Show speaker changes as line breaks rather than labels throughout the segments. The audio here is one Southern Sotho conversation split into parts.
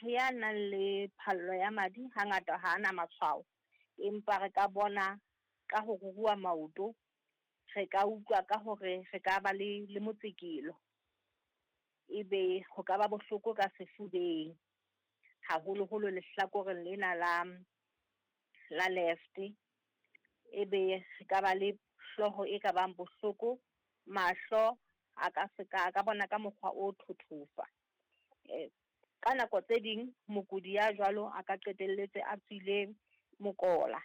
Motho ya nang le phallo ya madi hangata ha a na matshwao, empa re ka bona ka ho ruruha maoto, re ka utlwa ka hore re ka ba le motsekelo. Ebe ho ka ba bohloko ka sefubeng, haholoholo lehlakoreng lena la left. Ebe re ka ba le hlooho e ka bang bohloko, mahlo a ka seka, a ka bona ka mokgwa o thothofa. Ka nako tse ding mokudi ya jwalo a ka qetelletse a tswile mokola,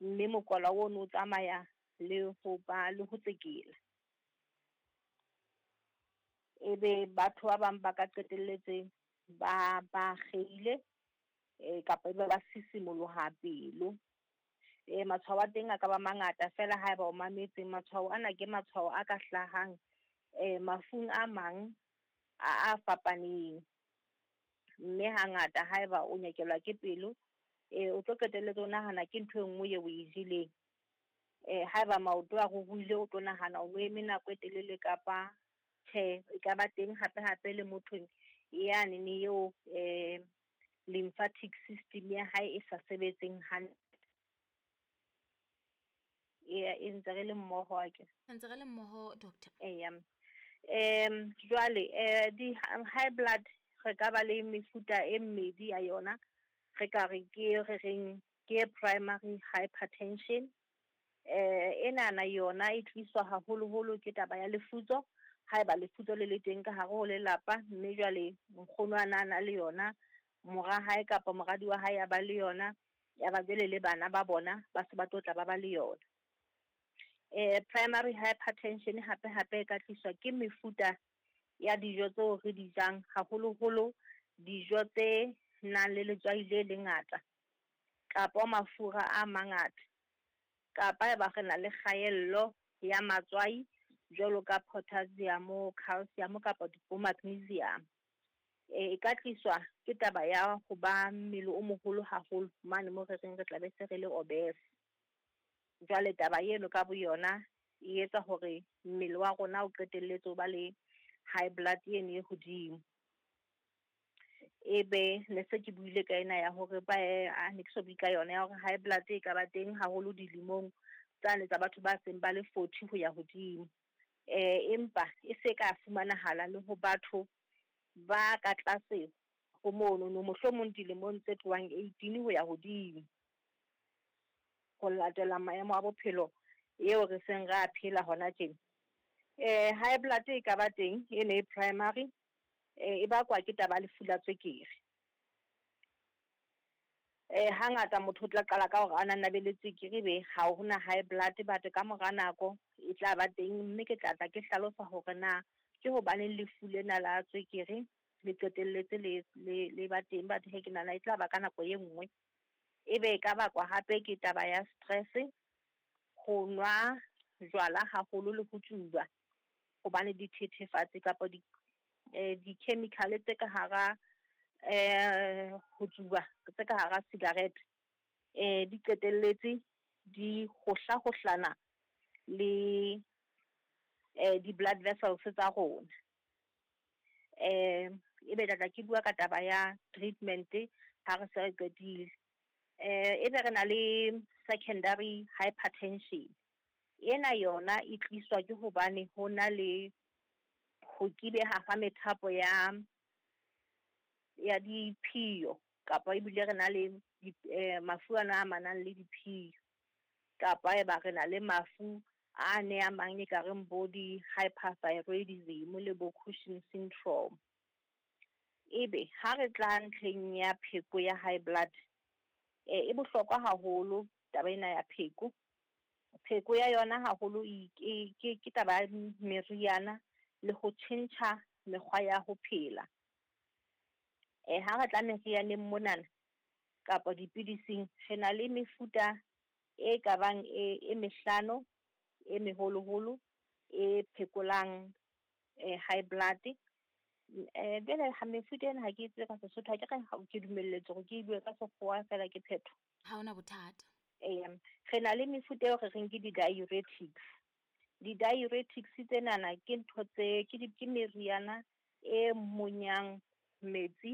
mme mokola ono o tsamaya le ho ba le ho tsekela. Ebe batho ba bang ba ka qetelletse ba akgehile, kapa ebe ba sisimoloha pelo. Matshwao a teng a ka ba mangata fela haeba o mametse, matshwao ana ke matshwao a ka hlahang mafung a mang a fapaneng. Mme hangata haeba o nyekelwa ke pelo, o tlo qetelletse o nahana ke ntho e nngwe eo o e jeleng. Haeba maoto a ruruhile, o tlo nahana o eme nako e telele kapa tjhe, e ka ba teng hape hape le mothong yane eo lymphatic system ya hae e sa sebetseng hantle. E ntse re le mmoho akere?
Ntse re le mmoho, doctor.
Eya. Jwale di high blood re ka ba le mefuta e mmedi ya yona. Re ka re ke re reng ke primary hypertension. Enana yona e tliswa haholoholo ke taba ya lefutso. Haeba lefutso le le teng ka hare ho lelapa, mme jwale nkgono a na le yona, mora hae kapa moradi wa hae a ba le yona, ya ba jwale le bana ba bona ba se ba tlo tla ba ba le yona. Primary hypertension hape hape e ka tliswa ke mefuta ya dijo tseo re di jang, haholoholo dijo tse nang le letswai le lengata kapa mafura a mangata, kapa eba re na le kgaello ya matswai jwalo ka potassium, calcium kapa bo magnesium. E ka tliswa ke taba ya ho ba mmele o moholo haholo mane mo re reng re tla be se re le obese. Jwale taba eno ka boyona e etsa hore mmele wa rona o qetelletse o ba le high blood eno e hodimo. Ebe ne se ke buile ka ena ya hore ba ne ke so bue ka yona ya hore high blood e ka ba teng haholo dilemong tsane tsa batho ba seng ba le 40 ho ya hodimo. Empa e se ka fumanahala le ho batho ba ka tlase ho mono, no mohlomong dilemong tse tlohang 18 ho ya hodimo. Ho latela maemo a bophelo eo re seng re a phela hona tjena. High blood e ka ba teng e ne primary, e bakwa ke taba ya lefu la tswekere. Hangata motho o tla qala ka hore a na be le tswekere be ha hona high blood, but ka mora nako e tla ba teng, mme ke tla tla ke hlalosa hore na ke hobaneng lefu lena la tswekere le qetelletse le ba teng, but he ke nahana e tla ba ka nako e nngwe. Ebe e ka bakwa hape ke taba ya stress, ho nwa jwala haholo le ho tsuba, hobane dithethefatsi kapa di-chemical tse ka hara ho tsuba, tse ka hara cigarette, di qetelletse di hohlahohlana le di-blood vessels tsa rona. Ebe tla tla ke bua ka taba ya treatment ha re se re qetile. Ebe re na le secondary hypertension. Ena yona e tliswa ke hobane ho na le ho kibeha ha methapo ya diphio, kapa ebile re na le mafu ana a amanang le diphio, kapa eba re na le mafu a ne a mang e ka reng bo di-hyperthyroidism le bo Cushing syndrome. Ebe ha re tla ntlheng ya pheko ya high blood, e bohlokwa haholo taba ena ya pheko. Pheko ya yona haholo ke taba ya meriana le ho tjhentjha mekgwa ya ho phela. Ha re tla merianeng monana kapa dipidising, re na le mefuta e ka bang e mehlano e meholoholo e phekolang high blood. Jwale ha mefuta ena ha ke tsebe ka Sesotho, ha ke re ke dumelletswe hore ke bue ka Sekgowa fela ke phetho.
Ha hona bothata.
Eya, re na le mefuta eo re reng ke di-diuretics. Di-diuretics tsenana ke ntho tse, ke di, ke meriana e monyang metsi